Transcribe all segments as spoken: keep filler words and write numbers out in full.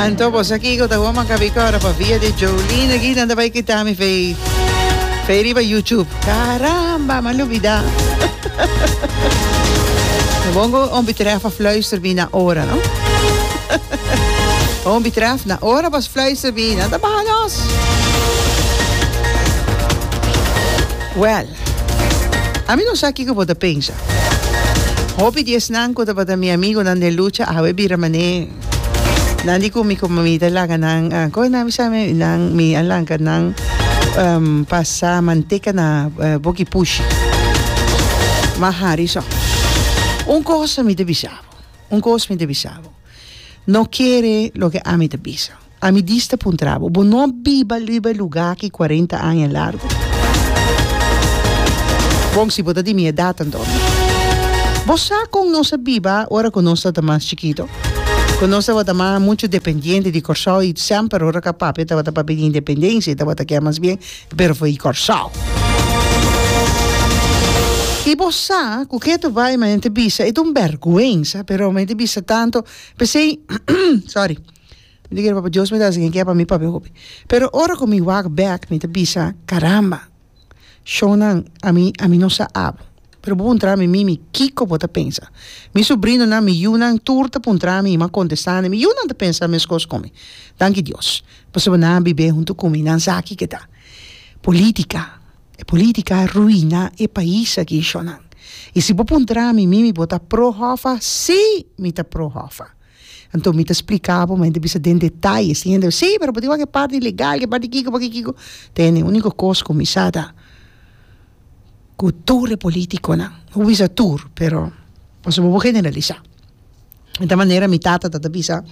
Anto bo sa kiko ta wou kabi kora pa via di Jolene aki nan ta bai kita mi fei fei riba YouTube. Caramba, m'a lubida. Bongo om betreft a fluister mi na ora, no? Om betreft na ora pas fluister mi na ta baha nos. Well, ami no sa kiko bo ta pensa. Hopi di esnan ku tabata mi amigonan den lucha awe bira mané nan di ku mi ku mi ta laga nan uh, kon nan bisa mi nan mi a lanka nan um, pasa manteka na uh, boki pushi. Ma hari so. Un kos mi ta bisa bo. Un kos mi ta bisa bo. No kere loke ami ta bisa. Ami dis ta puntra bo, bo no a biba riba e lugá aki kuarenta aña largu? Bon, si bo ta di mi edat anto. Bo sa kon nos a biba ora ku nos tabata mas chikito? Ku nos tabata mas muchu dependiente di Kòrsou i semper ora ku a papia tabata papia di independensia i tabata kier mas bien pero for di Kòrsou. I bo sa ku ke ta bai manera ta bisa e ta un bèrgwensa pero manera ta bisa tanto p'esei sorry mi ta kere papia Dios mi ta hasi ken ke pa mi papia hopi pero ora ku mi wak bèk mi ta bisa karamba shownan ami ami no sa abo pero bo puntra mi mimi kiko bo ta pensa mi sobrinonan mi yunan tur ta puntra mi i mi a kontestá nan mi yunan ta pensa meskos ku mi danki Dios pasobra nan a bib'é huntu ku mi nan sa kiko ta politica. E politica a ruina e pais aki shonan. Y si bo puntra mi, Mimi bo ta pro Hoffa? Si mi ta pro Hoffa. Anto mi ta splica bo, mi ta bisa den detaye. Si hende, si pero bo tin wak e parti legal, e parti kiko, parti kiko. Tene, unico cos cu mi sa ta cu tur e politiconan, no por bisa tur, pero pasobra bo por generalisa. E ta manera mi tata ta ta bisa,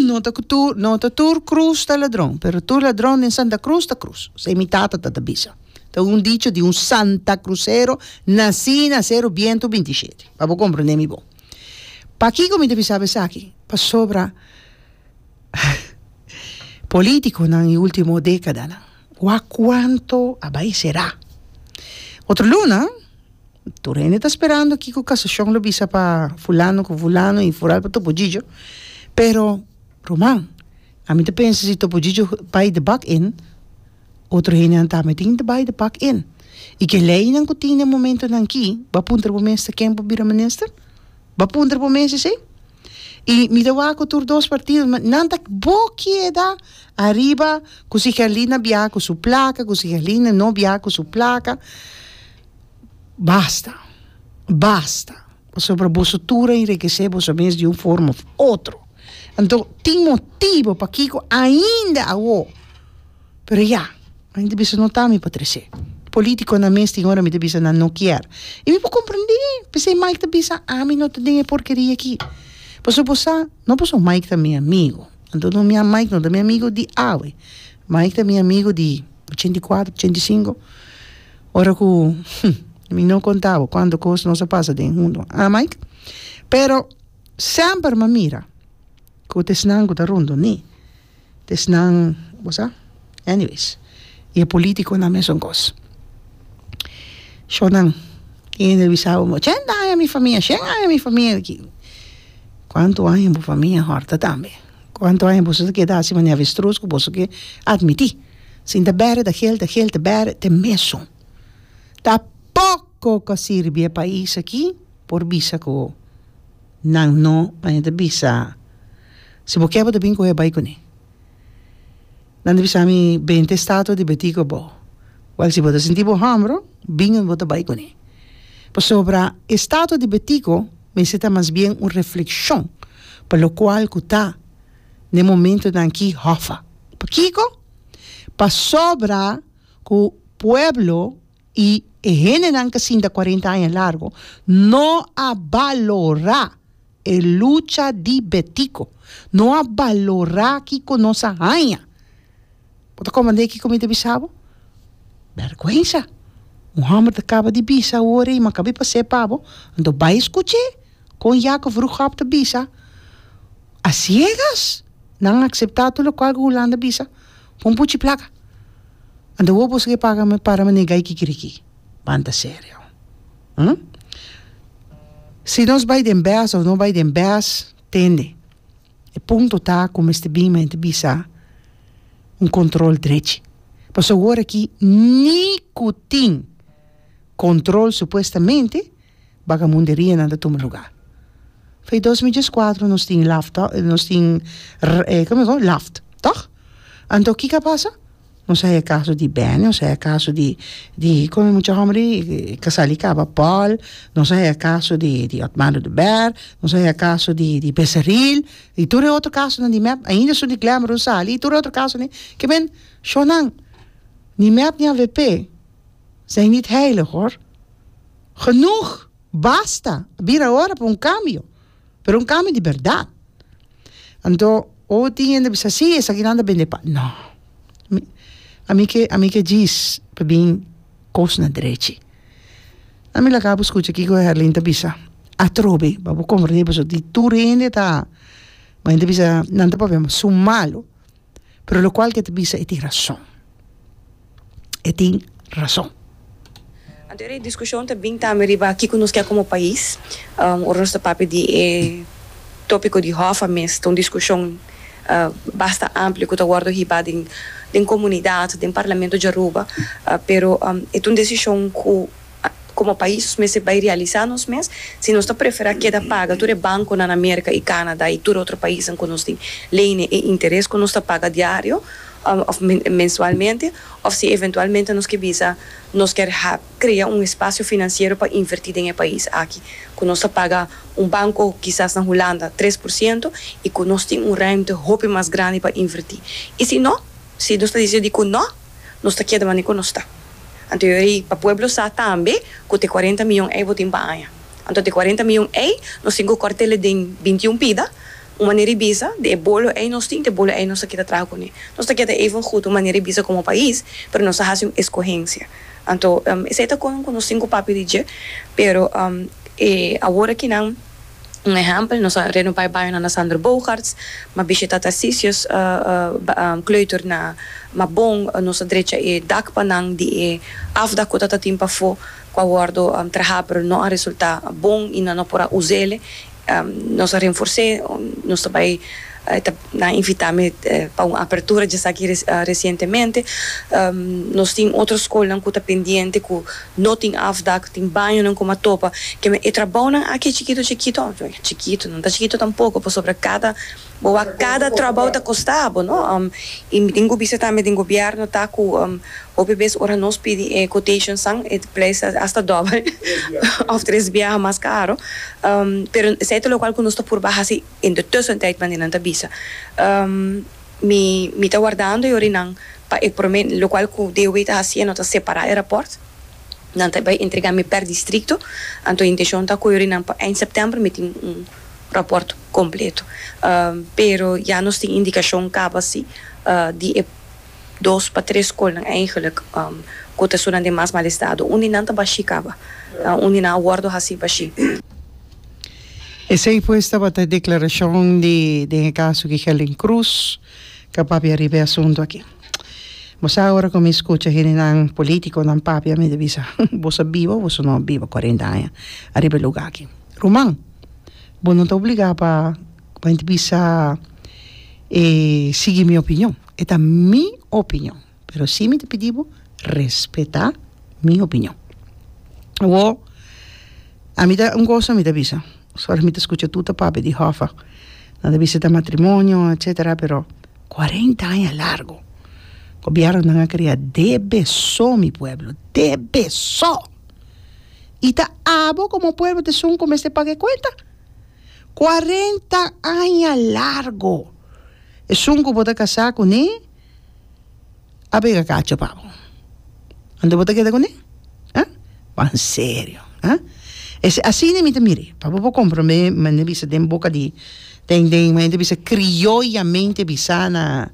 no ta tur, no ta tur cruz ta ladron, pero tur ladron den Santa Cruz ta cruz. Esei mi tata ta ta bisa. Ta un dicho di un santacrucero nací na Cero Biento binti shete. Pa bo comprende mi bon. Pakiko mi ta bisa bo esaki? Pasobra politiconan e ultimo decadanan, wak cuanto a bay cera. Otro luna. Tur hende ta sperando kiko Kasashon lo bisa pa fulano ku fulano i foral pa Topo Gigio. Pero, ruman, ami ta pensa si Topo Gigio bai de bak in, otro hendenan tambe tin ta bai de bak in. I ke leinan ku tin den momentonan aki, bo a puntra bo mes ta ken por bira minister? Bo a puntra bo mes esei? I mi ta wak ku tur dos partido, nan ta bo keda ariba ku si Gerlina biaha ku su plaka, ku si Gerlina no biaha ku su plaka. Basta! Basta! Pasobra boso tur a enrekesé boso mes di un forma òf otro. Anto, tin motibu pakiko ainda awor. Pero ya, mi ta bisa no ta mi pa tresé. Polítikonan mes tin ora mi ta bisa nan no kier. I mi por komprendé. P'esei Mike ta bisa ami no ta den e porkeria aki. Pasobra bo sa, no pasobra Mike ta mi amigu. Anto no mi Mike no ta mi amigu di awe. Mike ta mi amigu di ochenta i kuater, ochenta i sinku. Ora ku mi no konta bo kuantu kos nos a pasa den huntu, ah Mike? Pero semper m'a mira ku ta esnan ku ta rondoni, ta esnan, bo sa? Anyways, i e politikonan mesun kos. Shownan, tin hende bisa bo, ochenta aña mi famia, shen aña mi famia aki. Kuantu aña bo famia hòrta tambe? Kuantu aña boso ta keda hasi manera avestruz ku boso ke atmití? Sin ta bèrdè ta gel ta gel ta bèrdè ta e mesun. Ta poko ku a sirbi e pais aki por bisa ku nan no manera ta bisa si bo ke bo ta bin kohe bai kuné. Nan ta bisa mi bente estatua di Betico bo. Wèl si bo ta sinti bo hòmbro bin bo ta bai kuné. Pasobra e estatua di Betico mester ta mas bien un reflekshon pa lokual ku ta n'e momentonan aki hòfa. Pakiko? Pasobra ku pueblo i e hendenan ku a sinta kuarenta aña largu no a balorá e lucha di Betico, no a balorá kiko nos a haña. Bo ta komprendé kiko mi ta bisa bo? Bèrgwensa! Un hòmber ta kaba di bisa awor ei, ma kabi pas'é pa bo, anto bai skuch'é kon Jacob Vroegop ta bisa a siegas. Nan a akseptá tur lokual ku Hulanda bisa. Pon puchi plaka. Anto wou boso ke paga mi para mi negai kikiriki. Ban ta serio. Hm? Si nos bai den bes of no bai den bes, tende. E punto ta ku mester bin mente bisa un kontrol drechi. Pasobra awor aki ni ku tin kontrol supuestamente, bagamunderianan ta tuma lugá. Fei dos mil dieskuater nos tin laft, nos tin komo e laft, tòg? Anto kiko a pasa? Nos a haya kaso di Benny, nos a haya kaso di di komo e mucha hòmber ei ku a sali kaba Paul, nos a haya kaso di di Otmar Oduber, nos a haya kaso di di Becerril, i tur e otro kasonan di mep, ainda esun di Glenbrook sali, i tur e otro kasonan ke men shownan ni mep ni avp zijn niet heilig hoor. Genoeg! Basta! A bira ora pa un kambio, pero un kambio di bèrdat. Anto ora tin hende bisa, si esakinan ta bende pa. No, mi ami ke ami ke djis pa bin kos na drechi. Ami laga bo skucha kiko Herlin ta bisa atrobe pa bo komprende pasobra di tur hende ta ma hende ta bisa nan ta papia su malu pero lokual ke ta bisa e tin rason. E tin rason. Anto e diskushon ta bin tambe riba kiko nos ke komo pais. Ora nos ta papia di e topiko di Hoffa mes ta un diskushon basta amplio ku ta wòrdu hibá den den komunidat, den Parlamento di Aruba. Pero e ta un desishon ku komo pais nos mester bai realisá nos mes si nos ta preferá keda paga tur e bankonan na Merka i Kanada i tur otro paisnan ku nos tin lene e interes ku nos ta paga diario òf mensualmente òf si eventualmente nos ke bisa nos kier krea un espasio finansiero pa invertí den e pais aki ku nos ta paga un banko kisas na Hulanda tres por siento i ku nos tin un ruimte hopi mas grandi pa invertí. I si no, si nos ta disidí ku no, nos ta keda manera ku nos ta. Anto yori pa pueblo sa tambe ku te kuarenta miyon ei bo tin pa aña. Anto te kuarenta miyon ei nos tin ku kòrt'el den binti un pida. Un manera di bisa, di e bolo ei nos tin, te bolo ei nos ta keda traha kuné. Nos ta keda even goed un manera di bisa komo pais, pero nos ta hasi un eskohensia. Anto esei ta kon ku nos tin ku papia di dje, pero e awor akinan, un ehèmpel, nos a renobá e bañonan na Sander Bogaerts, m'a bishitá Tarcisius Kleuter na Mabon, nos a drecha e dak pa nan di e afdak ku ta tin pafó ku a wòrdu trahá pero no a resultá bon i nan no por a us'é. Nos a renfors'é, nos ta bai ta nan invitá mi pa un apertura djesaki resientemente. Nos tin otro skolnan ku ta pendiente ku no tin afdak, tin bañonan ku a topa. Ke men e trabounan aki chikito chikito, chikito, no ta chikito tampoko pasobra kada bo wak kada trabou ta kosta bo, no? I mi tin ku bisa tambe den gobièrnu ta ku hopi bes ora nos pidi e quotationsnan e prijs ta asta dòbel òf tres biaha mas karo. Pero esei ta lokual ku nos ta purba hasi in de tussentijd manera nan ta bisa. Mi mi ta wardando e orinan pa e prome lokual ku D O W ta hasiendo ta separá e rapòrt. Nan ta bai entregá mi per distrikto. Anto inteshon ta ku e orinan pa eind sèptèmber mi tin un rapòrt kompleto. Pero ya nos tin indikashon kaba si di e dos pa tres skolnan eigenlijk ku ta esunnan den mas mal estado. Un di nan ta bashí kaba. Un di nan a wòrdu hasí bashí. Esei pues tabata e deklarashon di den e kaso di Helen Cruz ku a papia riba e asuntu aki. Bo sa ora ku mi skucha hendenan politikonan papia mi ta bisa boso a biba o boso no a biba kuarenta aña ariba e lugá aki. Ruman, bo no ta obligá pa pa bisa e sigui mi opinion. E ta mi opinion, pero si mi ta pidi bo respetá mi opinion. Awor, ami ta un cosa mi ta bisa, ora mi ta scucha tur ta papia di Hoffa, nan ta bisa ta matrimonio etcetera, pero cuarenta aña largo gobiernonan a crea debe so mi pueblo, debe so! Y ta abo como pueblo ta esun cu mester paga e cuenta. Cuarenta aña largo! Esun cu bo ta casa cune a pega cacho pa bo. Anto bo ta keda cune? Ha? Ban serio, ha? Ese asina mi ta mire, pa bo por comprende manera bisa den boca di den den manera bisa crioyamente bisa na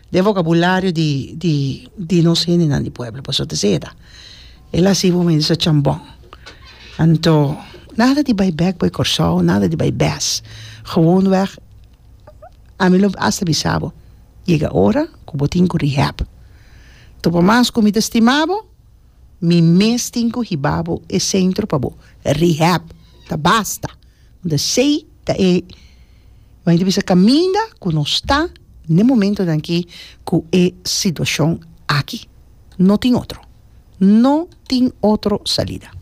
den vocabulario di di di nos hendenan di pueblo pasobra ta esei ta. El a hasi bo manera bisa chambon. Anto nada di bai bek bai Corsou, nada di bai bes. Gewoonweg Ami lo hasta bisa bo, yega ora ku bo tin ku rehab. Topa mas ku mi ta stima bo, mi mes tin ku hiba bo e sentro pa bo rehab. Ta basta. Unda esei ta e Ma mi ta bisa kaminda ku nos ta n'e momentonan aki ku e situashon aki. No tin otro. No tin otro salida.